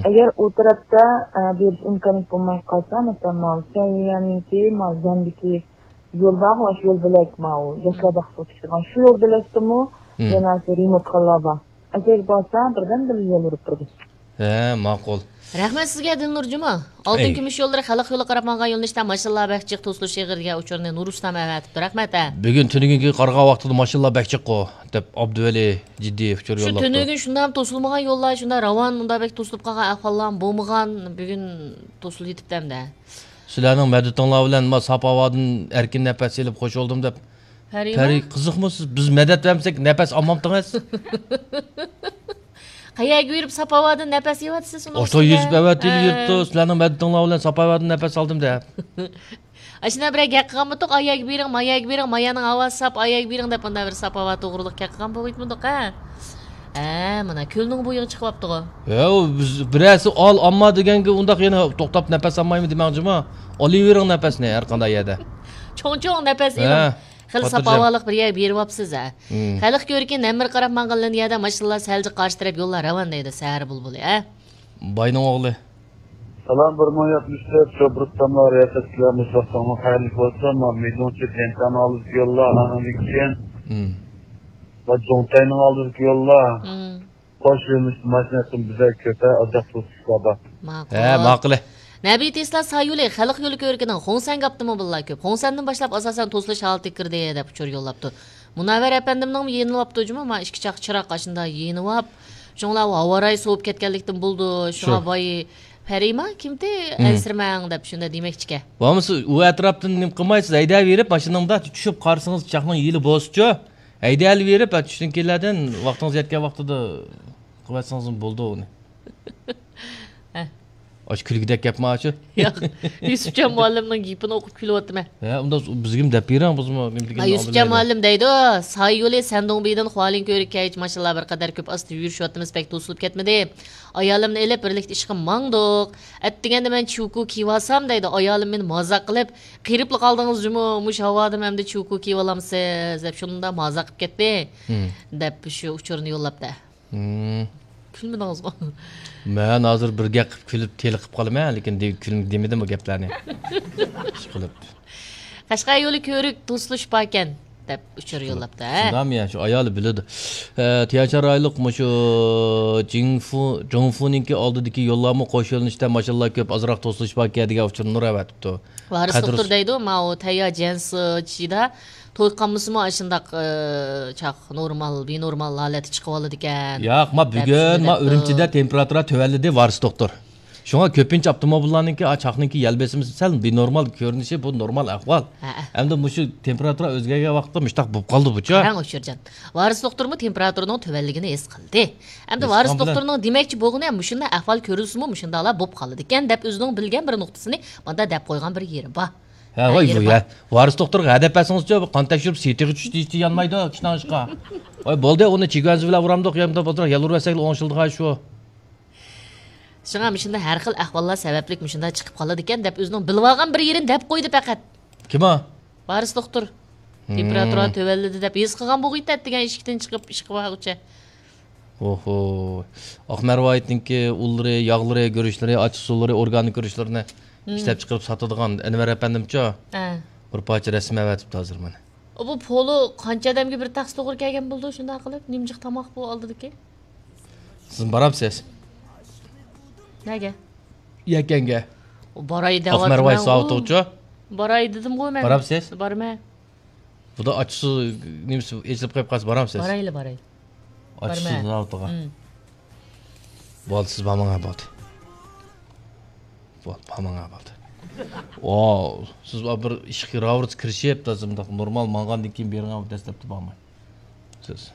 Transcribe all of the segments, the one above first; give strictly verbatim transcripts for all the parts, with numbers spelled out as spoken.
ئەگەر ئۇ تەرەپتە، ئە، بېرىش ئىمكانىيىتى بولماي قالسا، مەسىلەن، ماۋۇ سەۋىيەنىڭكى، ماۋۇ زەندىكى يول بارغۇ، شۇ يول بۆلەك ماۋۇ، ياشلار باغچىسىغا چىقىدىغان شۇ يول بۆلەكتىمۇ يەنە شۇ رېمونت قىلىنغان بار. ئەگەر بارسا، بىردەم بىر يول بېرىپ تۇرىدۇ. ھە، ماقۇل. رەھمەت سىزگە، دىلنۇر جۇما. ئالتۇن كۈمۈش يوللىرى خەلق يولى قاراپ ماڭغان يۆنىلىشتە ماشىنىلار بەك جىق توسۇلۇش ئېغىر دېگەن ئۇچۇرنى نۇرۇسلام ئەۋەتىپتۇ. رەھمەت، ھە. بۈگۈن تۈنۈگۈنكى قارىغان ۋاقتىدا ماشىنىلار بەك جىققۇ، دەپ ئابدۇۋەلى جىددىي ئۇچۇر شۇ يوللاپتۇ. تۈنۈگۈن شۇنداق توسۇلمىغان يوللار، شۇنداق راۋان، ئۇنداق بەك توسۇلۇپ قالغان ئەھۋاللار بولمىغان. بۈگۈن توسۇلۇپ يېتىپتۇ ئەمدى. سىلەرنىڭ مەدىتىڭلار بىلەن ما ساپ ھاۋادىن ئەركىن نەپەس ئېلىپ خوش بولدۇم دەپ. پەرىما؟ پەرى، قىزىقمۇ سىز؟ بىز مەدەت بەرمىسەك نەپەس ئالمامتىڭىز؟ قەيەرگە بېرىپ ساپ ھاۋادىن نەپەس ئېلىۋاتىسىز ئۇنىڭ ئوشۇ ئۈستىگە؟ يۈزۈپ ئەۋەتىلى ھە. يۈرۈپتۇ. سىلەرنىڭ مەدىتىڭلار بىلەن ساپ ھاۋادىن نەپەس ئالدىم دەپ. ئاشۇنداق بىرەر گەپ قىلغانمىدۇق، ئايەگە بېرىڭ، مايەگە بېرىڭ، مايەنىڭ ھاۋاسى ساپ، ئايەگە بېرىڭ دەپ، مۇنداق بىر ساپ ھاۋا توغرىلىق گەپ قىلغان بولغىيتمىدۇق، ھە؟ ھە، مانا كۆلنىڭ بويىغا چىقىۋاپتىغۇ. ھە، ئۇ بىز، بىرەرسى ئال، ئامما دېگەنگە ئۇنداق يەنە توختاپ نەپەس ئالمايمۇ دېمەڭچىما؟ ئالىۋېرىڭ نەپەسنى ھەر قانداق يەردە. چوڭ-چوڭ نەپەس ھە، ئېلىڭ. خېلى ساپ خاتىرجەم. ھاۋالىق بىر يەرگە بېرىۋاپسىز، ھە؟ مم. خەلق كۆركى نەمر قاراپ ماڭغان لىنىيەدە ماشىنىلار سەلجە قارشى تەرەپ يوللار راۋان دەيدۇ، سەھەر بۇلبۇلى، ھە؟ باينىڭ ئوغلى. سالام، بىر مىڭ يەتمىش تۆت، شۇ بىر تاملار رىياسەتچىلەر مۇشۇ ۋاقتىڭلار خەيرلىك بولسۇن. ما مىدۇڭچى دېنتانىڭ ئالدىدىكى يوللار، ئانىڭدىن كېيىن مم. ما جۇڭتەينىڭ ئالدىدىكى يوللار. مم. خوش يۆنىلىشتە ماشىنا بەك كۆپ، ئازراق توسۇشلار بار. ماقۇل. ھە، ماقۇل. نەبىي تېسلا سايولى خەلق يولى كۆركىنىڭ خۇڭسەنگە ئاپتوموبىللار كۆپ. خۇڭسەندىن باشلاپ ئاساسەن توسۇلۇش ھالىتىگە كىردى، دەپ ئۇچۇر يوللاپتۇ. مۇنەۋۋەر ئەپەندىمنىڭمۇ يېنىۋاپتۇ جۇمۇ، ما ئىككى چاق چىراغ ئاشۇنداق يېنىۋاپ. شۇڭلار ھاۋا رايى سوۋۇپ كەتكەنلىكتىن بولىدۇ. شۇڭا شۇ. ۋاي، پەرىما كىمتى، مم. ئەنسىرىمەڭ، دەپ شۇنداق دېمەكچىكە. بولمىسا ئۇ ئەتراپتىن نېمە قىلمايسىز، ھەيدەۋېرىپ ماشىنىڭدا چۈشۈپ قارىسىڭىز چاقنىڭ يېلى بولسىچۇ. ھەيدەۋېرىپ، ھە، چۈشتىن كېيىنلەردىن ۋاقتىڭىز يەتكەن ۋاقتىدا قىلىۋەتسىڭىزمۇ بولىدۇ ئۇنى. ھە. ئاشۇ كۈلكىدەك گەپمۇ ئاشۇ؟ ياق، يۈسۈپجان مۇئەللىمنىڭ گېپىنى ئوقۇپ كۈلۈۋاتىمەن. ھە، ئۇنداق بىزگىمۇ دەپ بېرىڭ، بىزمۇ نېمە دېگەننى يۈسۈپجان ئاڭلىۋېرەيلى. مۇئەللىم دەيدۇ، ساي يولى سەندۇڭبىدىن خۇالىن كۆۋرۈككە كەلگۈچە ماشىنىلار بىر قەدەر كۆپ، ئاستا يۈرۈشۈۋاتىمىز، بەك توسۇلۇپ كەتمىدى. ئايالىمنى ئېلىپ بىرلىكتە ئىشقا ماڭدۇق. ئەتىگەندە مەن چۈكۇ كىيىۋالسام دەيدۇ، ئايالىم مېنى مازاق قىلىپ، قېرىپلا قالدىڭىز جۇمۇ، مۇشۇ ھاۋادىمۇ ئەمدى چۈكۇ كىيىۋالامسىز دەپ شۇنداق مازاق قىلىپ كەتتى، مم. دەپ شۇ ئۇچۇرنى يوللاپتۇ. مم. كۈلمىدىڭىزغۇ؟ مەن ھازىر بىر گەپ قىلىپ كۈلۈپ تېلىقىپ قالىمەن، لېكىن دې-، كۈلمە دېمىدىم بۇ گەپلەرنى. ئىشقىلىپ. قەشقەر يولى كۆۋرۈك توسۇلۇش باركەن، دەپ ئۇچۇر يوللاپتۇ، ھە؟ شۇنداقمۇ يا؟ شۇ ئايالى بىلىدۇ. ئە، تيەنشان رايونلۇق مۇشۇ جىڭفۇ، جۇڭفۇنىڭكى ئالدىدىكى يوللارمۇ قوش يۆنىلىشتە ماشىنىلار كۆپ، ئازراق توسۇلۇش باركەن دېگەن ئۇچۇرنى نۇر ئەۋەتىپتۇ. ۋارىس دوختۇر دەيدۇ، ماۋۇ تەييار جيەنسىچىدا توي قالمىسىمۇ ئاشۇنداق، ئە، چاق نورمال، بىنورمال ھالەتتە چىقىۋالىدىكەن، ياق، ما دەپ بۈگۈن ما ئۈرۈمچىدە تېمپېراتۇرا تۆۋەنلىدى، ۋارىس دوختۇر. شۇڭا كۆپىنچە ئاپتوموبىللارنىڭكى، ئا، چاقنىڭكى يەل بېسىمى سەل بىنورمال كۆرۈنۈشى، بۇ نورمال ئەھۋال. ھەئە. ئەمدى مۇشۇ تېمپېراتۇرا ئۆزگەرگەن ۋاقىتتا مۇشۇنداق بولۇپ قالدى بۇچۇ. قاراڭ ئۇچۇرجان. ۋارىس دوختۇرمۇ تېمپېراتۇرىنىڭ تۆۋەنلىكىنى ھېس قىلدى. ئەمدى ھېس ۋارىس قىلغان بىلەن دوختۇرنىڭ دېمەكچى بولغىنى مۇشۇنداق ئەھۋال كۆرۈلسىمۇ مۇشۇنداقلا بولۇپ قالىدىكەن دەپ ئۆزىنىڭ بىلگەن بىر نۇقتىسىنى ماندا دەپ قويغان بىر يېرى بار. ھە، ھە، ۋاي، يېرى بۇ بار. يا، ۋارىس دوختۇرغا ھەدەپ بەرسىڭىزچۇ، بۇ قان تەكشۈرۈپ سېتىغا چۈشتى، ھېچ يانمايدۇ، كىشىنىڭ ئىشقا. ۋاي، بولدى، ئۇنى چىگۇەنزى بىلەن ئۇرامدۇق، يا بولدى، يەل ئۇرۇۋەتسەكلا ئوڭشىلىدىغان شۇ. شۇڭا مۇشۇنداق ھەر خىل ئەھۋاللار سەۋەبلىك مۇشۇنداق چىقىپ قالىدىكەن دەپ ئۆزىنىڭ بىلىۋالغان بىر يېرىنى دەپ قويدى پەقەت. كىم ئۇ؟ ۋارىس دوختۇر. مم. تېمپېراتۇرا تۆۋەنلىدى دەپ ھېس قىلغان بولغىيتتى، ئەتىگەن ئىشىكتىن چىقىپ ئىشقا بارغۇچە. ئوھو. ئاق مەرۋايىتنىڭكى ئۇنلىرى، ياغلىرى، گۈرۈچلىرى، ئاچچىق سۇلىرى، ئورگانىك گۈرۈچلىرىنى مم. ئىشلەپچىقىرىپ ساتىدىغان ئەنۋەر ئەپەندىمچۇ؟ ھە. بىر پارچە رەسىم ئەۋەتىپتۇ ھازىر مانا. ئۇ بۇ پولۇ قانچە ئادەمگە بىر تەخسە توغرا كەلگەن بولىدۇ، شۇنداق قىلىپ، نېمىجىق تاماق بۇ ئالدىدىكى؟ سىز بارامسىز؟ نەگە؟ يەكەنگە. ئۇ باراي ئاق مەرۋاي دەۋاتىمەن-غۇ. ساۋۇتىغۇچۇ؟ باراي دېدىمغۇ مەن. بارامسىز؟ بارىمەن. بۇدا ئاچچىسى نېمىسى ئېچىلىپ قېلىپ قالسا بارامسىز؟ بارايلى، باراي. ئاچچىسى بارىمەن. زاۋۇتىغا. مم. بولدى، سىز بارماڭا بولدى. بولدى، بارماڭا بولدى. ۋاۋ، سىز بىر ئىشقا راۋۇرۇس كىرىشىپ، تازا مۇنداق نورمال ماڭغاندىن كېيىن بېرىڭە، دەسلەپتە بارماي. سىز.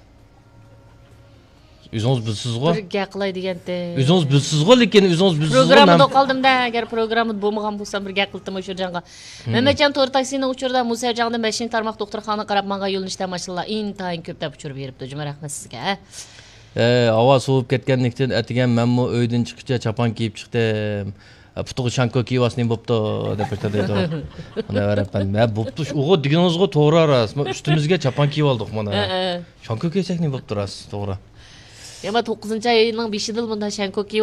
ئۆزىڭىز بىلىسىزغۇ؟ بىر گەپ قىلاي دېگەنتى. ئۆزىڭىز بىلىسىزغۇ، لېكىن ئۆزىڭىز بىلىسىزغۇ، پروگراممىدا مەن قالدىم-دە، ئەگەر پروگراممىدا بولمىغان بولسام بىر گەپ قىلتىم ئۇ شۇ جانغا. مم. مەمەتجان تور تاكسىنىڭ ئۇچۇرىدا مۇسەجاڭدىن بەشىنچى تارماق دوختۇرخانىغا قاراپ ماڭغان يۆنىلىشتە ماشىنىلار ئىنتايىن كۆپ دەپ ئۇچۇر بېرىپتۇ. جۈمە رەھمەت سىزگە. ئەي، ھاۋا سوۋۇپ كەتكەنلىكتىن ئەتىگەن مەنمۇ ئۆيدىن چىققۇچە چاپان كىيىپ چىقتىم. پۇتىغا شانكو كىيىۋالسا نېمە بوپتۇ دەپ دەيدۇ. مانا ئەپەندىم، ھە، بوپتۇ، ئۇغۇ دېگىنىڭىزغۇ توغرا راست. مانا ئۈستىمىزگە چاپان كىيىۋالدۇق مانا. ھە، ھە. شانكو كىيسەك نېمە بوپتۇ راست، توغرا. يا، ما توققۇزىنچى ئاينىڭ بېشىدىلا بۇنداق شانكو كىيىپ